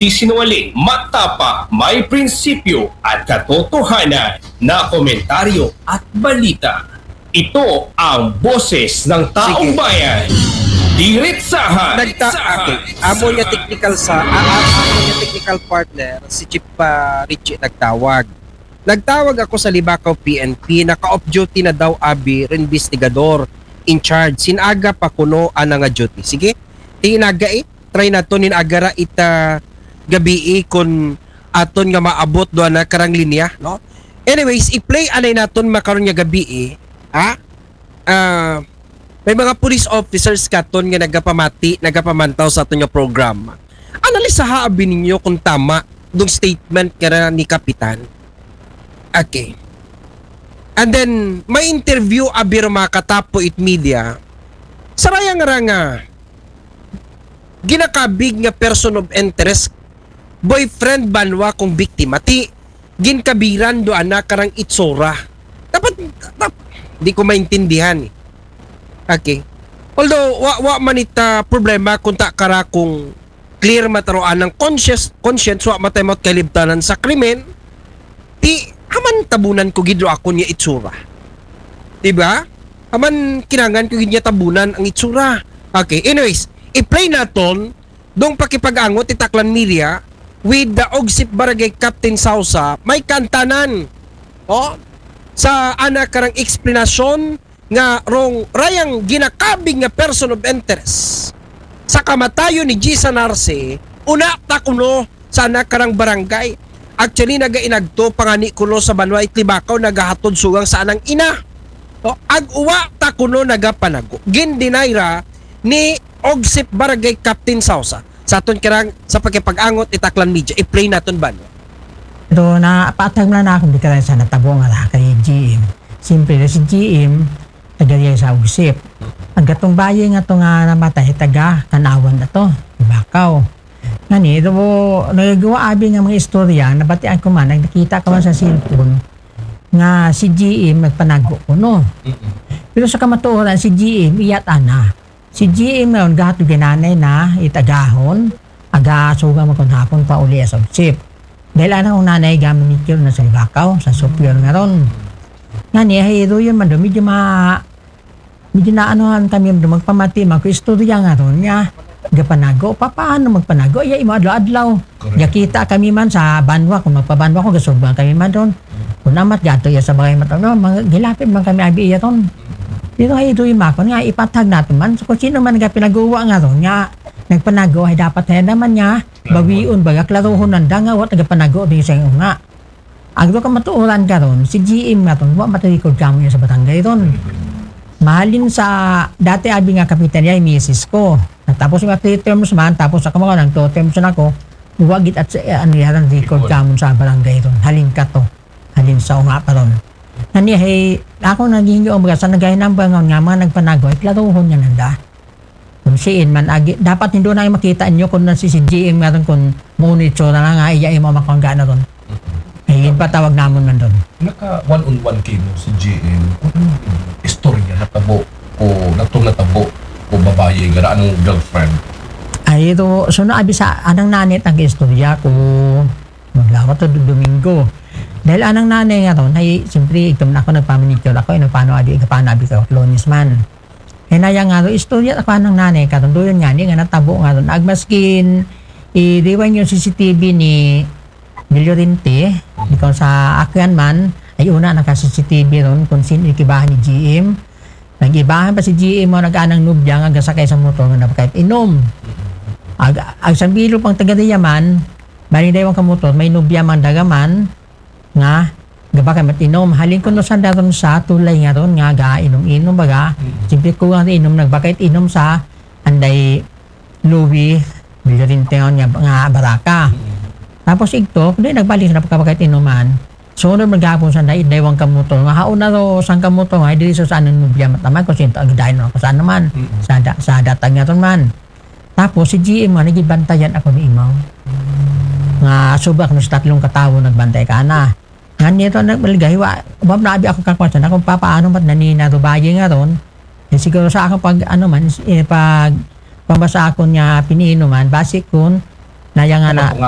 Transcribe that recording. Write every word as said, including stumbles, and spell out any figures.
Di sinungaling, matapang, may prinsipyo at katotohanan na komentaryo at balita. Ito ang boses ng taong Sige. bayan. Diretsahan. Nagta- okay. Amo niya technical sa, ah, ah, amo niya technical partner, si Chief, ah, Richie nagtawag. Nagtawag ako sa Libacao P N P, naka-off duty na daw abi rin investigador in charge. Sinaga pa kuno ana nga duty. Sige, tinaga eh. Try naton nin agara ita gabii kun aton nga maabot do ana karang linya, no? Anyways, i-play anay naton makaron nga gabii, ha? Ah, may mga police officers katon nga nagapamati, nagapamantaw sa aton nga program. Analisaha abi ninyo kung tama dong statement kara ni Kapitan. Okay. And then, may interview abi ro mga katapo it media. Saraya nga ra nga ginakabig nga person of interest, boyfriend banwa kung biktima, ti ginkabiran do ana karang itsura. Dapat, dap-, di ko maintindihan eh. Okay. Although, wa, wa man ita problema kung ta kara kung clear mataroan ng conscience, conscience, wa matay mo kalibtanan sa krimen, ti, aman tabunan ko gid ro akon nga itsura. Di ba? Aman kinangan ko gid nga tabunan ang itsura. Okay, anyways, i-play naton dong pakipag-angot it Aklan Media with the OGSIP Barangay Captain Sausa, may kantanan. Oh, sa ana karang eksplanasyon nga rong rayang ginakabig nga person of interest sa kamatayon ni Jisa Narce, una ta kuno sa ana karang barangay. Actually, nagainagto pa ngani kuno sa banwa it Libacao, nagahatod sugang sa anang ina. No? Ag-uwa ta kuno nagapanago. Gin-deny ra ni OGSIP Barangay Captain Sausa. Sa aton karang sa pakipag-angot it Aklan Media, i-play naton banwa. Pero na, patag man na akong bikalan sa natabo nga ra kay G M. Siyempre, si G M, taga diay sa OGSIP. Ang gatong bayi nga to nga namatay, taga Kanawan na to, Libacao. Ngani, do, nagagawa abi nga mga istorya, nabatian ko man, nakita ko man sa cellphone, nga si G M nagpanago kuno. Pero sa kamatuoran, si G M, iyat ana. Si G M ngayon, gahat gananay na, it agahon, aga suga man kun hapon pa uli sa OGSIP. Dahil ana kong nanay, gaman ni na sa Libacao, sa Superior nga ron. Ngani, ay, do yun man do, medyo ma-, medyo naanuhan kami, magpamati, magkuistorya nga ron niya. Gapanago, pa, paano magpanago? Iya, imo adlaw-adlaw. Correct. Gakita kami man sa banwa, kung magpabanwa ko, gasugban kami man ron. Kung amat, gato iya sa bagay mataw, no? Mga, gilapit man kami, abi iya ron. Pero ay, ito yung makon nga, ipatag natin man. So, kung sino man nga pinaguwa nga ron, nga, nagpanago, ay dapat, ay naman nga, bawion, baga, klaruhon nanda nga, wat nagapanago, di sa nga. Agdo ka matuoran karon, si G M nga ton, wa matalikod kamo niya sa barangay ron. Mahalin sa dati abi nga kapitan niya, misis ko. Tapos nga three terms man, tapos ako mga nang two terms na ako, wa gid at sa, eh, ano yaran record kamo sa barangay ron. Halin ka to. Halin sa unga pa ron. Nani, hey, ako naging yung mga sa nagay number nga, nga mga nagpanagoy, klaruhon nga nanda. Kung siin man, agi, dapat hindi na makita niyo kung nasi si G M nga ron kung muna itsura na nga, iya imo makangga na ron. Ay, yun pa tawag namon man ron. Naka one-on-one kayo si G M. Kung ano yung istorya natabo o natong natabo o babae nga na anong girlfriend? Ay, ito, so naabi sa anang nanit ang istorya ko maglawat to Domingo. Dahil anang nanay nga ron, ay, siyempre, ito man ako nagpamanicure ako, ino paano abi, ika paano abi ka, Lonis man. Hinaya nga ron, istorya ako anang nanay karon, doon nga ni, nga natabo nga ron. Agmaskin, i-, rewind yung C C T V ni Del Llorente, di ko sa akyan man, ay una naka-C C T V ron, kung sino ikibahan ni G M. Nag-ibahan pa si G M mo, nag-anang nubya, nga gasakay sa motor, nga napakait inom. Ag, ag sambilo pang taga diya man, bali daywan ka motor, may nubya man dagaman, nga, gabakay mat inom. Halin ko no sa daron sa tulay nga ron, nga ga inom-inom baga. Siyempre ko nga inom, nagbakait inom sa anday Louis Villarinteon nga, nga baraka. Tapos igto, kundi nagbalik na pagkabakait inuman. Sunod maghapon sa anday, daywan ka motor. Nga haon na ro, sang ka motor, nga, diri sa saan ang nubya mataman, kung sinto, ang dahil na ako saan naman. Sa, da, sa datang nga ron man. Tapos, si G M nga, nagibantayan ako ni Imaw. Nga, sobra ko sa tatlong katawo, nagbantay ka na. Nga nito, nagmaligay, wa, wa na abi ako kakwasan, akong papaano mat nanina do bayi nga ron. Eh, siguro sa akong pag, ano man, eh, pag, pambasa ako niya piniinuman, basi kun, Nah, yang anak Nga.